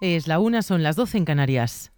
Es la 1, son las 12 en Canarias.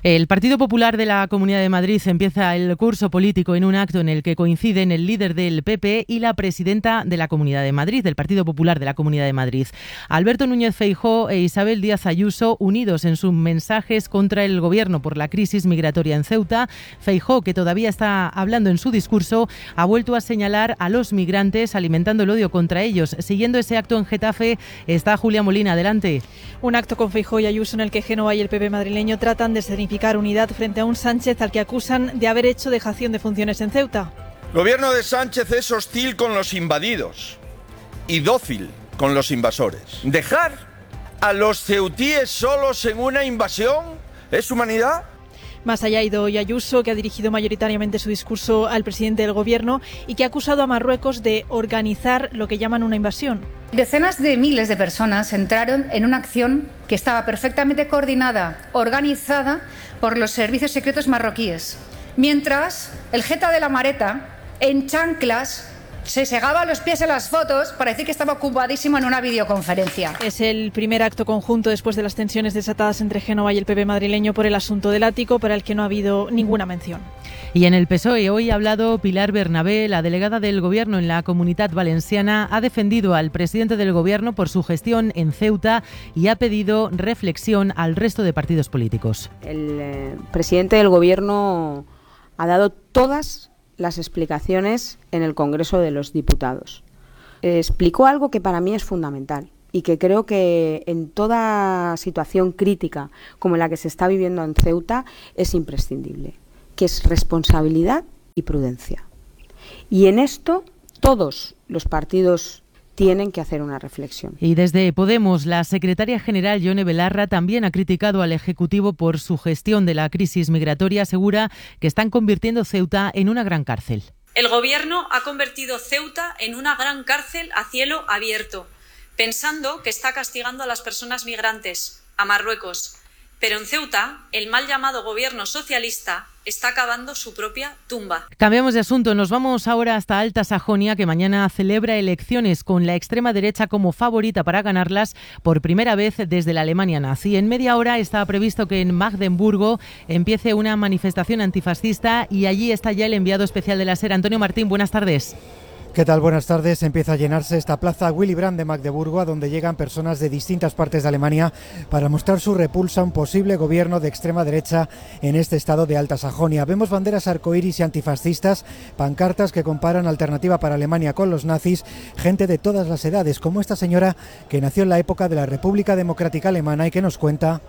El Partido Popular de la Comunidad de Madrid empieza el curso político en un acto en el que coinciden el líder del PP y la presidenta de la Comunidad de Madrid, del Partido Popular de la Comunidad de Madrid. Alberto Núñez Feijóo e Isabel Díaz Ayuso, unidos en sus mensajes contra el Gobierno por la crisis migratoria en Ceuta. Feijóo, que todavía está hablando en su discurso, ha vuelto a señalar a los migrantes, alimentando el odio contra ellos. Siguiendo ese acto en Getafe está Julia Molina. Adelante. Un acto con Feijóo y Ayuso en el que Génova y el PP madrileño tratan de significar unidad frente a un Sánchez al que acusan de haber hecho dejación de funciones en Ceuta. El gobierno de Sánchez es hostil con los invadidos y dócil con los invasores. ¿Dejar a los ceutíes solos en una invasión es humanidad? Más allá ha ido hoy Ayuso, que ha dirigido mayoritariamente su discurso al presidente del Gobierno y que ha acusado a Marruecos de organizar lo que llaman una invasión. Decenas de miles de personas entraron en una acción que estaba perfectamente coordinada, organizada por los servicios secretos marroquíes, mientras el jeta de la Mareta, en chanclas, se segaba los pies en las fotos para decir que estaba ocupadísimo en una videoconferencia. Es el primer acto conjunto después de las tensiones desatadas entre Génova y el PP madrileño por el asunto del ático, para el que no ha habido ninguna mención. Y en el PSOE hoy ha hablado Pilar Bernabé, la delegada del Gobierno en la Comunitat Valenciana, ha defendido al presidente del Gobierno por su gestión en Ceuta y ha pedido reflexión al resto de partidos políticos. El presidente del Gobierno ha dado todas las explicaciones en el Congreso de los Diputados. Explicó algo que para mí es fundamental y que creo que en toda situación crítica como la que se está viviendo en Ceuta es imprescindible, que es responsabilidad y prudencia. Y en esto todos los partidos tienen que hacer una reflexión. Y desde Podemos, la secretaria general Yone Belarra también ha criticado al Ejecutivo por su gestión de la crisis migratoria. Asegura que están convirtiendo Ceuta en una gran cárcel. El Gobierno ha convertido Ceuta en una gran cárcel a cielo abierto, pensando que está castigando a las personas migrantes, a Marruecos. Pero en Ceuta, el mal llamado gobierno socialista está cavando su propia tumba. Cambiamos de asunto, nos vamos ahora hasta Alta Sajonia, que mañana celebra elecciones con la extrema derecha como favorita para ganarlas por primera vez desde la Alemania nazi. En media hora está previsto que en Magdeburgo empiece una manifestación antifascista y allí está ya el enviado especial de la SER, Antonio Martín. Buenas tardes. ¿Qué tal? Buenas tardes. Empieza a llenarse esta plaza Willy Brandt de Magdeburgo, a donde llegan personas de distintas partes de Alemania para mostrar su repulsa a un posible gobierno de extrema derecha en este estado de Alta Sajonia. Vemos banderas arcoíris y antifascistas, pancartas que comparan Alternativa para Alemania con los nazis, gente de todas las edades, como esta señora que nació en la época de la República Democrática Alemana y que nos cuenta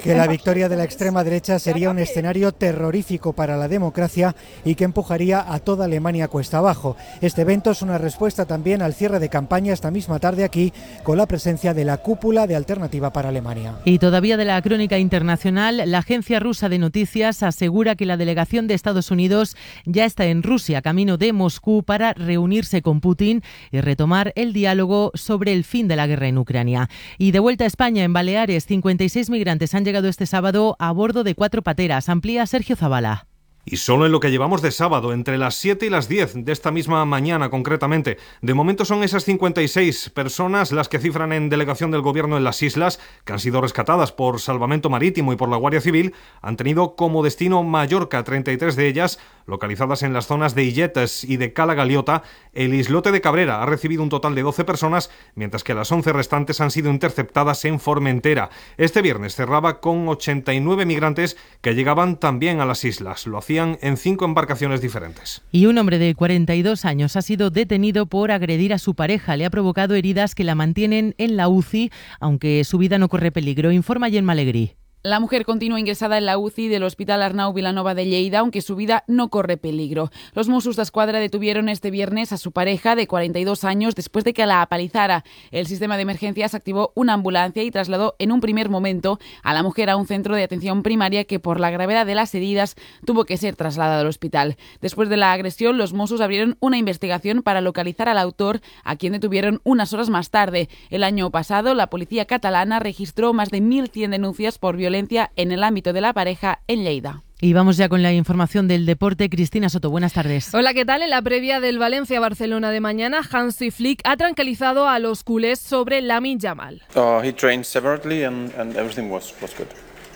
que la victoria de la extrema derecha sería un escenario terrorífico para la democracia y que empujaría a toda Alemania cuesta abajo. Este evento es una respuesta también al cierre de campaña esta misma tarde aquí, con la presencia de la cúpula de Alternativa para Alemania. Y todavía de la crónica internacional, la agencia rusa de noticias asegura que la delegación de Estados Unidos ya está en Rusia, camino de Moscú, para reunirse con Putin y retomar el diálogo sobre el fin de la guerra en Ucrania. Y de vuelta a España, en Baleares, 56 migrantes han llegado este sábado a bordo de 4 pateras. Amplía Sergio Zabala. Y solo en lo que llevamos de sábado, entre las 7 y las 10 de esta misma mañana concretamente. De momento son esas 56 personas las que cifran en delegación del Gobierno en las islas, que han sido rescatadas por Salvamento Marítimo y por la Guardia Civil. Han tenido como destino Mallorca, 33 de ellas localizadas en las zonas de Illetes y de Cala Galiota. El islote de Cabrera ha recibido un total de 12 personas, mientras que las 11 restantes han sido interceptadas en Formentera. Este viernes cerraba con 89 migrantes que llegaban también a las islas. Lo hacían en 5 embarcaciones diferentes. Y un hombre de 42 años ha sido detenido por agredir a su pareja. Le ha provocado heridas que la mantienen en la UCI, aunque su vida no corre peligro. Informa Gemma Alegrí. La mujer continúa ingresada en la UCI del Hospital Arnau Vilanova de Lleida, aunque su vida no corre peligro. Los Mossos d'Esquadra detuvieron este viernes a su pareja de 42 años después de que la apalizara. El sistema de emergencias activó una ambulancia y trasladó en un primer momento a la mujer a un centro de atención primaria que, por la gravedad de las heridas, tuvo que ser trasladada al hospital. Después de la agresión, los Mossos abrieron una investigación para localizar al autor, a quien detuvieron unas horas más tarde. El año pasado, la policía catalana registró más de 1.100 denuncias por violencia en el ámbito de la pareja en Lleida. Y vamos ya con la información del deporte. Cristina Soto, buenas tardes. Hola, ¿qué tal? En la previa del Valencia-Barcelona de mañana, Hansi Flick ha tranquilizado a los culés sobre Lamine Yamal. He trained separately and everything was good.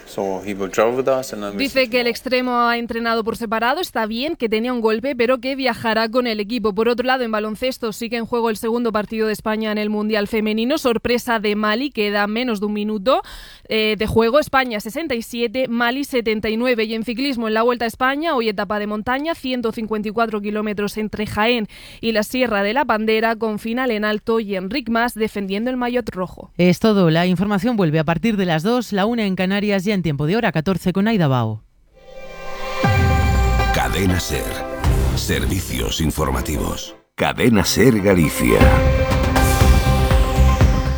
So he will travel with us and Dice que el extremo ha entrenado por separado, está bien, que tenía un golpe, pero que viajará con el equipo. Por otro lado, en baloncesto sigue en juego el segundo partido de España en el Mundial Femenino. Sorpresa de Mali, queda menos de un minuto de juego. España 67, Mali 79. Y en ciclismo, en la Vuelta a España, hoy etapa de montaña, 154 kilómetros entre Jaén y la Sierra de la Bandera, con final en alto y Enric Mas defendiendo el maillot rojo. Es todo. La información vuelve a partir de las 2, la 1 en Canarias, ya en tiempo de hora 14 con Aida Bao. Cadena SER. Servicios informativos. Cadena SER Galicia.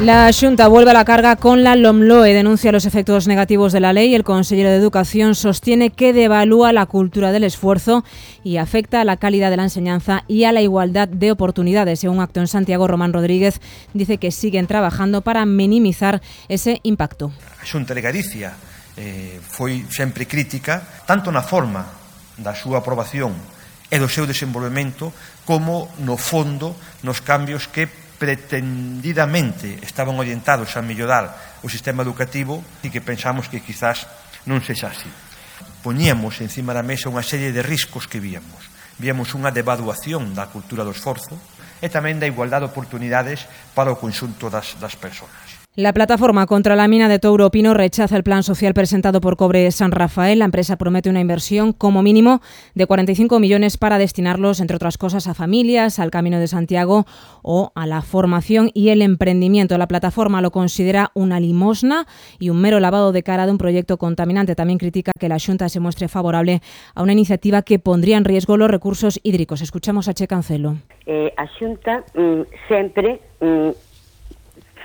La Xunta vuelve a la carga con la LOMLOE, denuncia los efectos negativos de la ley. El consejero de Educación sostiene que devalúa la cultura del esfuerzo y afecta a la calidad de la enseñanza y a la igualdad de oportunidades. En un acto en Santiago, Román Rodríguez dice que siguen trabajando para minimizar ese impacto. A Xunta de Galicia foi sempre crítica, tanto na forma da súa aprobación e do seu desenvolvemento, como no fondo, nos cambios que pretendidamente estaban orientados a mellorar o sistema educativo e que pensamos que quizás non sexa así. Poñíamos encima da mesa unha serie de riscos que víamos. Víamos unha devaluación da cultura do esforzo e tamén da igualdade de oportunidades para o conxunto das persoas. La plataforma contra la mina de Touro Pino rechaza el plan social presentado por Cobre San Rafael. La empresa promete una inversión como mínimo de 45 millones para destinarlos, entre otras cosas, a familias, al Camino de Santiago o a la formación y el emprendimiento. La plataforma lo considera una limosna y un mero lavado de cara de un proyecto contaminante. También critica que la Xunta se muestre favorable a una iniciativa que pondría en riesgo los recursos hídricos. Escuchamos a Che Cancelo. A Xunta sempre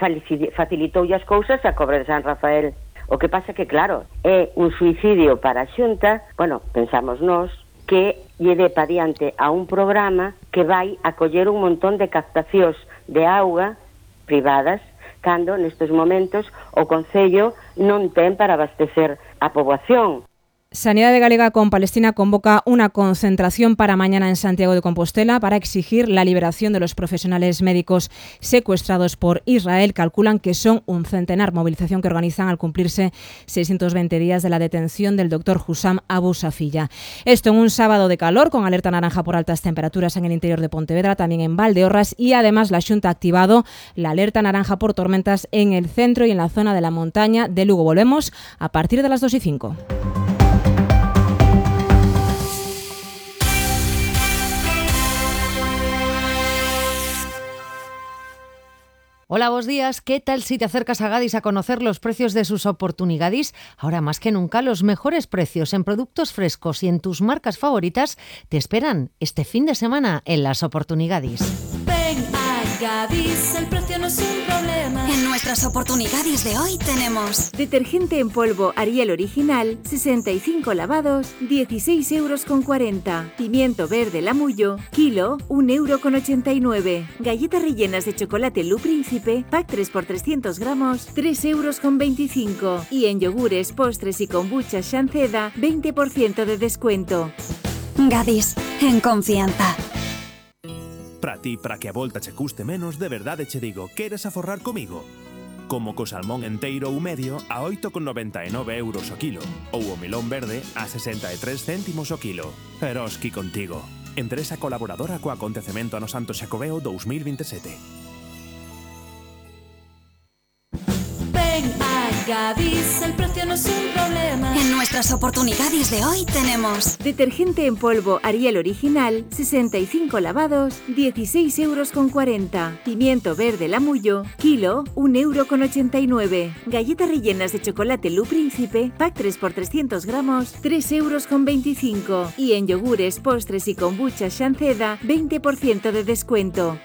facilitou as cousas a Cobre de San Rafael. O que pasa que, claro, é un suicidio para a Xunta, pensamos nós, que lle dé pa diante a un programa que vai acoller un montón de captacións de auga privadas, cando nestes momentos o Concello non ten para abastecer a poboación. Sanidad Galega con Palestina convoca una concentración para mañana en Santiago de Compostela para exigir la liberación de los profesionales médicos secuestrados por Israel. Calculan que son un centenar, movilización que organizan al cumplirse 620 días de la detención del doctor Hussam Abu Safiyya. Esto en un sábado de calor con alerta naranja por altas temperaturas en el interior de Pontevedra, también en Valdeorras, y además la Xunta ha activado la alerta naranja por tormentas en el centro y en la zona de la montaña de Lugo. Volvemos a partir de las 2:05. Hola, buenos días. ¿Qué tal si te acercas a Gadis a conocer los precios de sus oportunidades? Ahora más que nunca, los mejores precios en productos frescos y en tus marcas favoritas te esperan este fin de semana en las oportunidades. Ven a Gadis, el precio no es un problema. En nuestras oportunidades de hoy tenemos detergente en polvo Ariel original, 65 lavados, 16,40 €. Pimiento verde Lamullo, kilo, 1,89 €. Galletas rellenas de chocolate Lu Príncipe, pack 3 por 300 gramos, 3,25 €. Y en yogures, postres y kombucha Shanceda, 20% de descuento. Gadis, en confianza. Para ti, para que a volta che custe menos, de verdade che digo, queres aforrar comigo? Como co salmón enteiro ou medio a 8,99 € o kilo, ou o melón verde a 63 céntimos o kilo. Eroski contigo. Empresa colaboradora co acontecemento Ano Santo Xacobeo 2027. Ven a Gadis, el precio no es un problema. En nuestras oportunidades de hoy tenemos detergente en polvo Ariel original, 65 lavados, 16,40 €. Pimiento verde Lamullo, kilo, 1,89 €. Galletas rellenas de chocolate Lu Príncipe, pack 3 por 300 gramos, 3,25 €. Y en yogures, postres y kombucha Shanceda, 20% de descuento.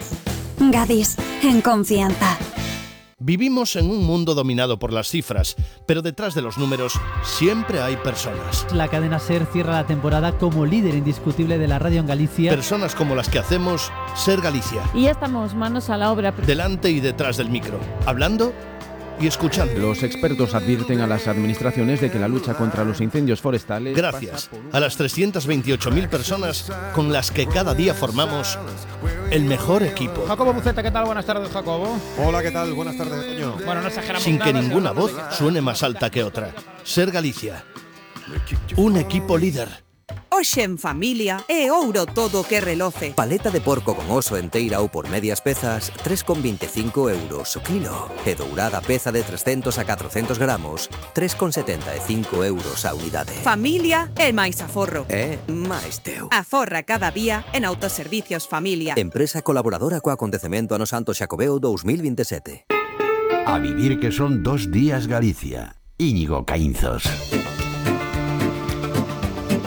Gadis, en confianza. Vivimos en un mundo dominado por las cifras, pero detrás de los números siempre hay personas. La cadena SER cierra la temporada como líder indiscutible de la radio en Galicia. Personas como las que hacemos SER Galicia. Y ya estamos manos a la obra. Delante y detrás del micro, hablando y escuchando. Los expertos advierten a las administraciones de que la lucha contra los incendios forestales... Gracias a las 328.000 personas con las que cada día formamos el mejor equipo. Jacobo Buceta, ¿qué tal? Buenas tardes, Jacobo. Hola, ¿qué tal? Buenas tardes, Toño. Bueno, no exageramos Sin nada, que ninguna voz suene más alta que otra. Ser Galicia. Un equipo líder. Hoxe en familia é ouro todo que reloce. Paleta de porco con oso enteira ou por medias pezas, 3,25 euros o kilo. E dourada peza de 300 a 400 gramos, 3,75 euros a unidade. Familia é máis aforro. É máis teu. Aforra cada día en Autoservicios Familia. Empresa colaboradora co acontecemento Ano Santo Xacobeo 2027. A vivir que son 2 días Galicia. Íñigo Caínzos.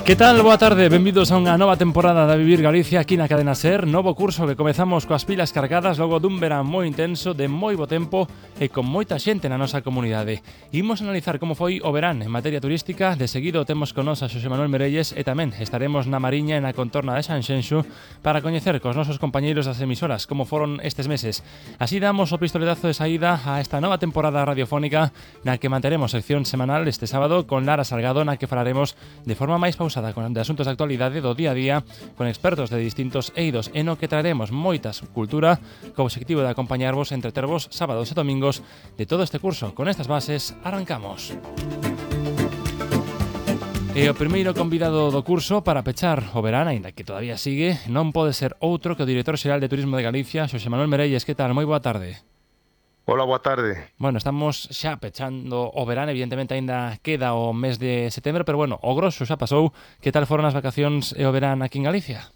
Que tal? Boa tarde, benvidos a unha nova temporada de Vivir Galicia aquí na Cadena SER. Novo curso que comezamos coas pilas cargadas logo dun verán moi intenso, de moi bo tempo e con moita xente na nosa comunidade. Imos analizar como foi o verán en materia turística. De seguido temos con nos a Xosé Manuel Merelles e tamén estaremos na Mariña e na contorna de Sanxenxo para coñecer cos nosos compañeiros das emisoras como foron estes meses. Así damos o pistoletazo de saída a esta nova temporada radiofónica na que manteremos sección semanal este sábado con Lara Salgado, na que falaremos de forma máis pausada de asuntos de actualidade do día a día con expertos de distintos eidos e no que traeremos moitas cultura co obxectivo de acompañarvos e entretervos sábados e domingos de todo este curso. Con estas bases arrancamos. E o primeiro convidado do curso para pechar o verán, aínda que todavía sigue, non pode ser outro que o director xeral de Turismo de Galicia, Xosé Manuel Merelles. Que tal? Moi boa tarde. Hola, boa tarde. Bueno, estamos xa pechando o verán, evidentemente aínda queda o mes de setembro, pero bueno, o grosso xa pasou. Que tal foron as vacacións e o verán aquí en Galicia?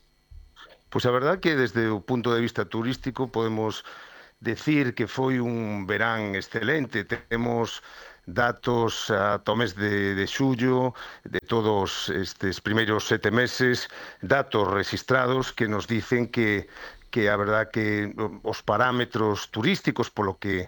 Pois a verdad que desde o punto de vista turístico podemos decir que foi un verán excelente. Temos datos ata o mes de xullo de todos estes primeiros 7 meses, datos registrados que nos dicen que a verdad que os parámetros turísticos polos que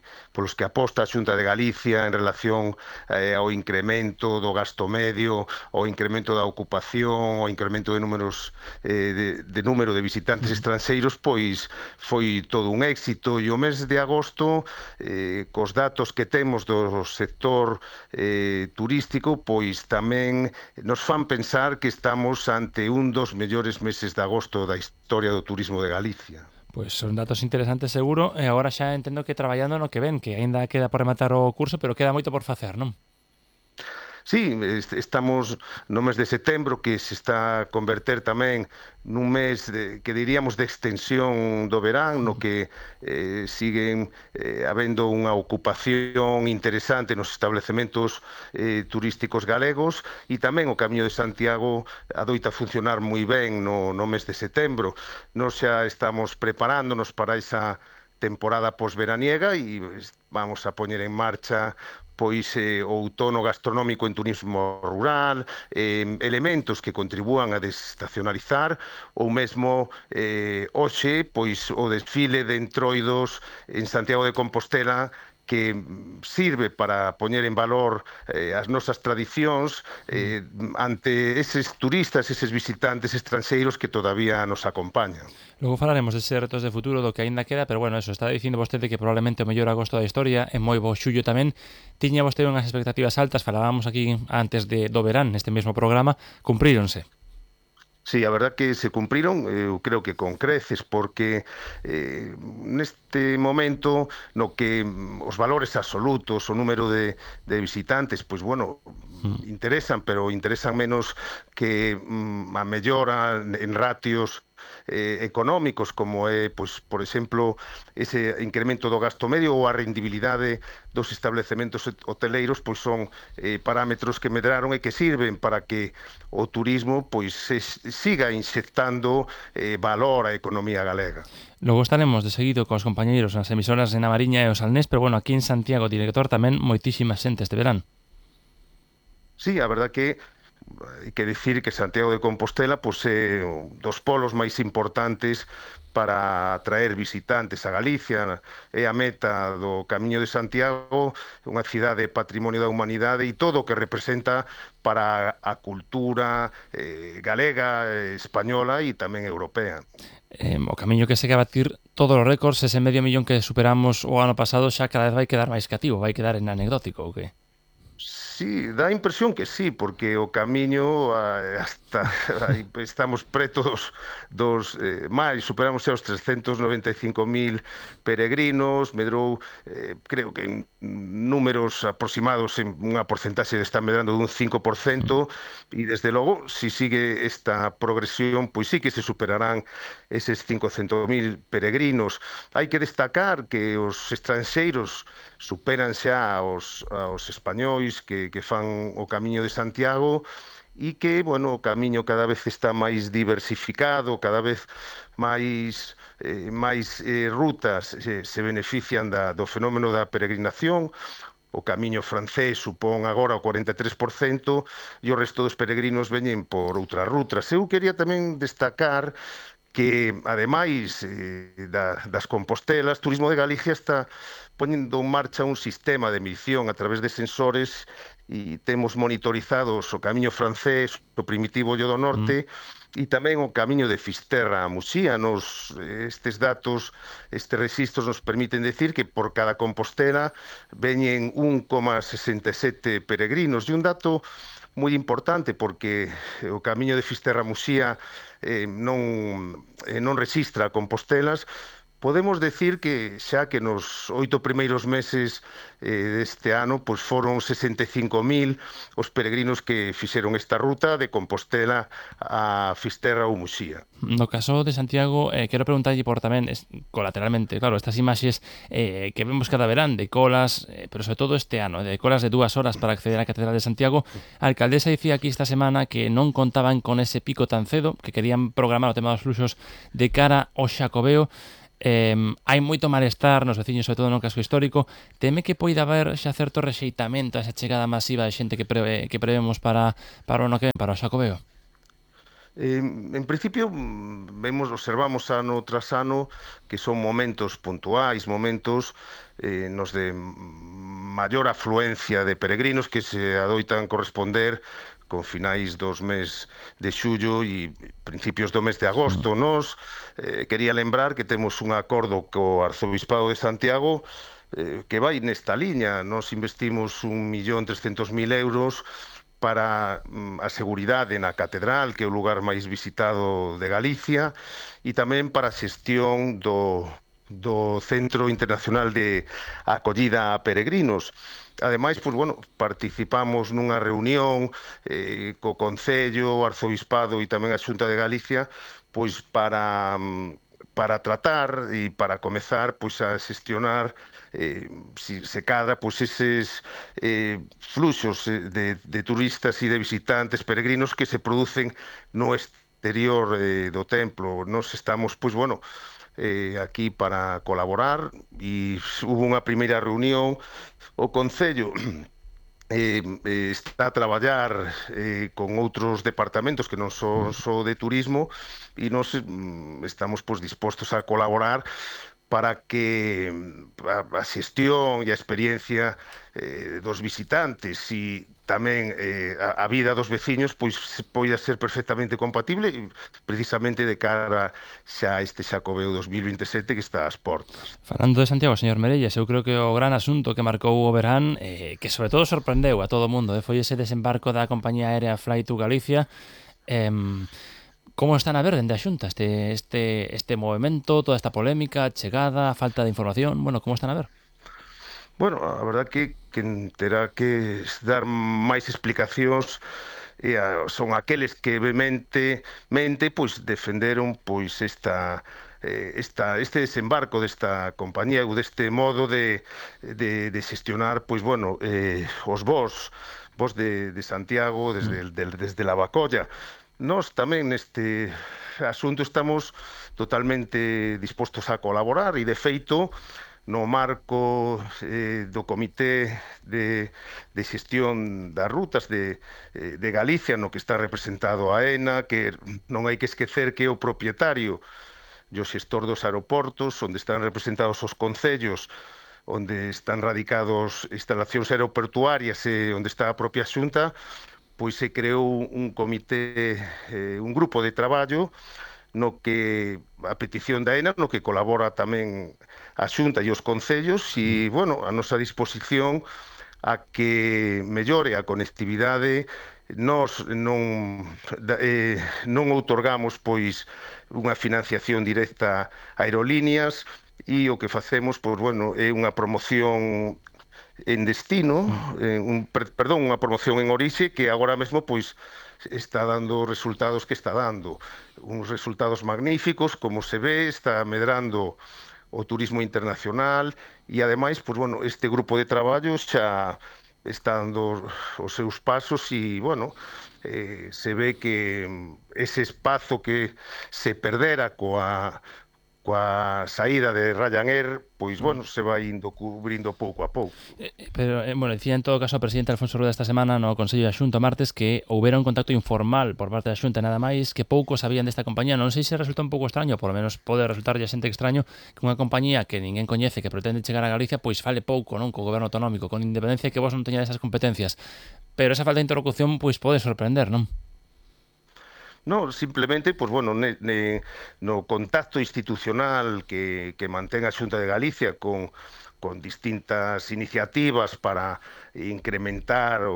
aposta a Xunta de Galicia en relación ao incremento do gasto medio, ao incremento da ocupación, ao incremento de números de número de visitantes estranxeiros, pois foi todo un éxito. E o mes de agosto, cos datos que temos do sector turístico, pois tamén nos fan pensar que estamos ante un dos mellores meses de agosto da historia do turismo de Galicia. Pois son datos interesantes seguro, e agora xa entendo que traballando no que ven, que aínda queda por rematar o curso, pero queda moito por facer, non? Sí, estamos no mes de setembro, que se está a converter tamén nun mes que diríamos de extensión do verán, no que siguen habendo unha ocupación interesante nos establecementos turísticos galegos, e tamén o Camiño de Santiago adoita funcionar moi ben no mes de setembro. Nos xa estamos preparándonos para esa temporada posveraniega e vamos a poñer en marcha pois o outono gastronómico en turismo rural, elementos que contribúan a desestacionalizar, ou mesmo hoxe pois o desfile de entroidos en Santiago de Compostela, que sirve para poñer en valor as nosas tradicións ante eses turistas, eses visitantes estranxeiros que todavía nos acompañan. Logo falaremos deses retos de futuro do que aínda queda, pero bueno, eso, está dicindo vostede que probablemente o mellor agosto da historia, e moi bo xullo tamén. Tiña vostede unhas expectativas altas, falábamos aquí antes do verán, neste mesmo programa, cumpríronse. Sí, a verdad que se cumpriron, eu creo que con creces, porque neste momento no que os valores absolutos, o número de visitantes, pois bueno, interesan, pero interesan menos que a mellora en ratios económicos, como é, pois, por exemplo, ese incremento do gasto medio ou a rendibilidade dos establecementos hoteleiros, pois son parámetros que medraron e que sirven para que o turismo pois siga inxectando valor á economía galega. Logo estaremos de seguido cos compañeiros nas emisoras de Mariña e o Salnés, pero bueno, aquí en Santiago, director, tamén moitísimas xente este verán. Sí, a verdad que hai que dicir que Santiago de Compostela pois é dos polos máis importantes para atraer visitantes a Galicia. É a meta do Camiño de Santiago, unha cidade patrimonio da humanidade e todo o que representa para a cultura galega, española e tamén europea. O Camiño que segue a batir todos os récords, ese 500.000 que superamos o ano pasado xa cada vez vai quedar máis cativo, vai quedar en anecdótico, ou que? Sí, dá a impresión que sí, porque o Camiño hasta estamos preto dos máis, superamos xa os 395.000 peregrinos, medrou, creo que en números aproximados en unha porcentaxe está medrando dun 5%, e desde logo, se sigue esta progresión, pois sí que se superarán eses 500.000 peregrinos. Hai que destacar que os estranxeiros superan xa aos españois que fan o Camiño de Santiago e que, bueno, o Camiño cada vez está máis diversificado, cada vez máis rutas se benefician do fenómeno da peregrinación. O Camiño francés supón agora o 43% e o resto dos peregrinos veñen por outras rutas. Eu quería tamén destacar que, ademais das Compostelas, Turismo de Galicia está poñendo en marcha un sistema de medición a través de sensores e temos monitorizados o Camiño francés, o Primitivo Ollo do Norte, e tamén o Camiño de Fisterra a Muxía. Estes datos, estes registros nos permiten decir que por cada Compostela veñen 1,67 peregrinos. E un dato moi importante, porque o Camiño de Fisterra a Muxía non rexistra Compostelas, podemos decir que xa que nos 8 primeiros meses deste ano pois foron 65.000 os peregrinos que fixeron esta ruta de Compostela a Fisterra ou Muxía. No caso de Santiago, quero preguntarlle por tamén, colateralmente, claro, estas imaxes que vemos cada verán de colas, pero sobre todo este ano, de colas de 2 horas para acceder á Catedral de Santiago. A alcaldesa dicía aquí esta semana que non contaban con ese pico tan cedo, que querían programar o tema dos fluxos de cara ao Xacobeo. Hai moito malestar nos veciños, sobre todo no casco histórico. Teme que poida haber xa certo rexeitamento a esa chegada masiva de xente que prevemos para o ano que ven, para o Xacobeo? En principio, observamos ano tras ano que son momentos puntuais, momentos nos de maior afluencia de peregrinos que se adoitan corresponder con finais dos mes de xullo e principios do mes de agosto. Nos quería lembrar que temos un acordo co Arzobispado de Santiago que vai nesta liña. Nos investimos 1.300.000 euros para a seguridade na Catedral, que é o lugar máis visitado de Galicia, e tamén para a xestión do Centro Internacional de Acollida a Peregrinos. Ademais, pois, bueno, participamos nunha reunión co Concello, o Arzobispado e tamén a Xunta de Galicia, pois para tratar e para comezar pois a xestionar se cadra pois eses fluxos de turistas e de visitantes peregrinos que se producen no exterior do templo. Nos estamos, pois, bueno, aquí para colaborar e hubo unha primeira reunión. O Concello está a traballar con outros departamentos que non son só de turismo e nos estamos pois dispostos a colaborar para que a xestión e a experiencia dos visitantes e tamén a vida dos veciños pois poida ser perfectamente compatible, precisamente de cara xa a este Xacobeo 2027 que está ás portas. Falando de Santiago, señor Merelles, eu creo que o gran asunto que marcou o verán, que sobre todo sorprendeu a todo o mundo, foi ese desembarco da compañía aérea Fly to Galicia. Como están a ver dende a Xunta este movimento, toda esta polémica, chegada, falta de información? Bueno, como están a ver? Bueno, a verdad que terá que dar máis explicacións son aqueles que vehementemente pois defenderon pois este desembarco desta compañía ou deste modo de xestionar pois bueno, os voos de Santiago desde Lavacolla. Nós tamén neste asunto estamos totalmente dispostos a colaborar e, de feito, no marco do Comité de Xestión das Rutas de Galicia, no que está representado a AENA, que non hai que esquecer que é o propietario o xestor dos aeroportos, onde están representados os concellos, onde están radicados instalacións aeroportuarias e onde está a propia Xunta, pois se creou un comité, un grupo de traballo no que a petición da AENA, no que colabora tamén a Xunta e os concellos e, bueno, a nosa disposición a que mellore a conectividade. Nós non outorgamos pois unha financiación directa a aerolíneas e o que facemos, pois, bueno, é unha promoción en destino, unha promoción en orixe que agora mesmo pois está dando os resultados que está dando. Uns resultados magníficos, como se ve, está medrando o turismo internacional e, ademais, pois, bueno, este grupo de traballo xa está dando os seus pasos e, bueno, se ve que ese espazo que se perdera coa saída de Ryanair, pois, bueno, se vai indo cubrindo pouco a pouco. Pero, bueno, dicía en todo caso o presidente Alfonso Rueda esta semana no Consello da Xunta martes que houbera un contacto informal por parte da Xunta nada máis, que pouco sabían desta compañía. Non sei se resulta un pouco extraño, por lo menos pode resultarlle a xente extraño que unha compañía que ninguén coñece, que pretende chegar a Galicia, pois fale pouco, non, co goberno autonómico, con independencia que vos non teñades esas competencias. Pero esa falta de interlocución pois pode sorprender, non? No, simplemente, pues bueno, no contacto institucional que mantén a Xunta de Galicia con distintas iniciativas para incrementar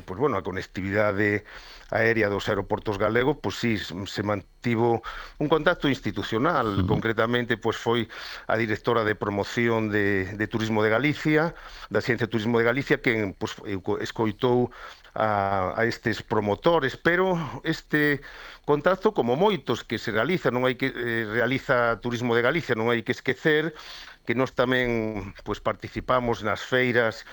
pues bueno, a conectividade aérea dos aeroportos galegos, pues sí, se mantivo un contacto institucional. Concretamente, pues foi a directora de promoción de Turismo de Galicia, da Xencia de Turismo de Galicia, que pues, escoitou a estes promotores, pero este contacto, como moitos que se realiza, non hai que realiza Turismo de Galicia, non hai que esquecer que nós tamén pois participamos nas feiras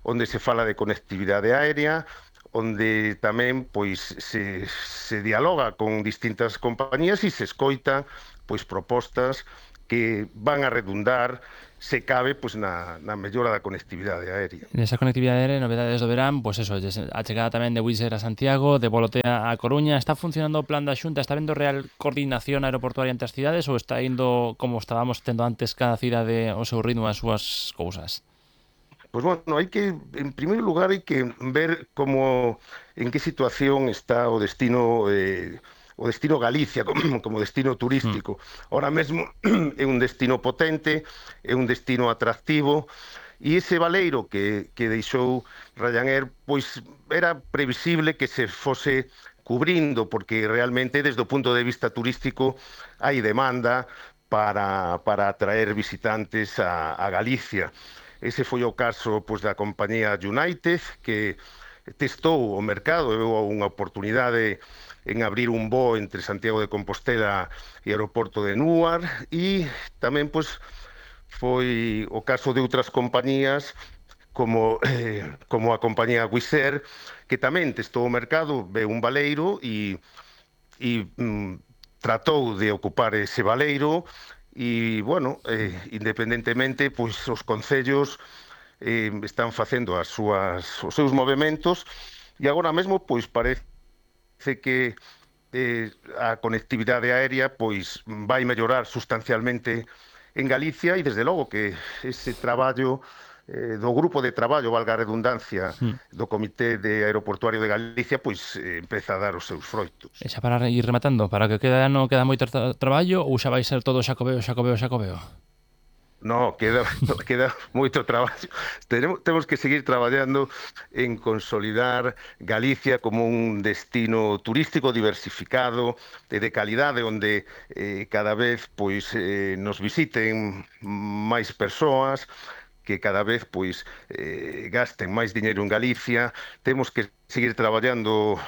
onde se fala de conectividade aérea, onde tamén pois se dialoga con distintas compañías e se escoita pois propostas que van a redundar, se cabe, pois na mellora da conectividade aérea. Nesa conectividade aérea, novedades do verán, pois eso, a chegada tamén de Wizz Air a Santiago, de Volotea a Coruña. Está funcionando o plan da Xunta? Está vendo real coordinación aeroportuaria entre as cidades ou está indo como estábamos tendo antes cada cidade o seu ritmo, as súas cousas? Pois bueno, hai que, en primeiro lugar, hai que ver en que situación está o destino Galicia como destino turístico. Ahora mesmo é un destino potente, é un destino atractivo, e ese baleiro que deixou Ryanair, pois era previsible que se fose cubrindo, porque realmente desde o punto de vista turístico hai demanda para atraer visitantes a Galicia. Ese foi o caso pois da compañía United, que testou o mercado e veu unha oportunidade en abrir un voo entre Santiago de Compostela e aeroporto de Newark, e tamén pois foi o caso de outras compañías como a compañía Wizz Air, que tamén testou o mercado, veu un baleiro e tratou de ocupar ese baleiro e, bueno, independentemente, pois os concellos están facendo os seus movementos e agora mesmo pois parece que a conectividade aérea pois vai mellorar sustancialmente en Galicia e desde logo que ese traballo do grupo de traballo, valga a redundancia, do Comité de Aeroportuario de Galicia, pois empeza a dar os seus froitos. E xa para ir rematando, para que queda moito traballo ou xa vai ser todo xacobeo? No, queda moito traballo. Temos que seguir traballando en consolidar Galicia como un destino turístico diversificado e de calidade, onde cada vez pois nos visiten máis persoas, que cada vez pois gasten máis diñeiro en Galicia. Temos que seguir traballando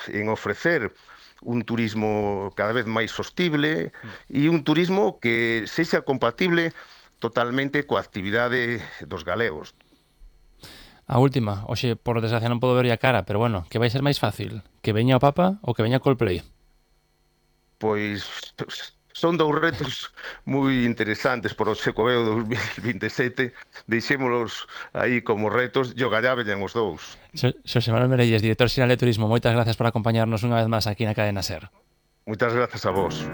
en ofrecer un turismo cada vez máis sostible e un turismo que sexa compatible totalmente coa actividade dos galegos. A última, hoxe, por desgracia non podo ver a cara, pero bueno, que vai ser máis fácil? Que veña o Papa ou que veña Coldplay? Pois son dous retos moi interesantes por o Xacobeo 2027. Deixémolos aí como retos e ogallá veñan os dous. Xosé Manuel Merelles, director xeral de Turismo, moitas gracias por acompañarnos unha vez máis aquí na Cadena SER. Moitas grazas a vos.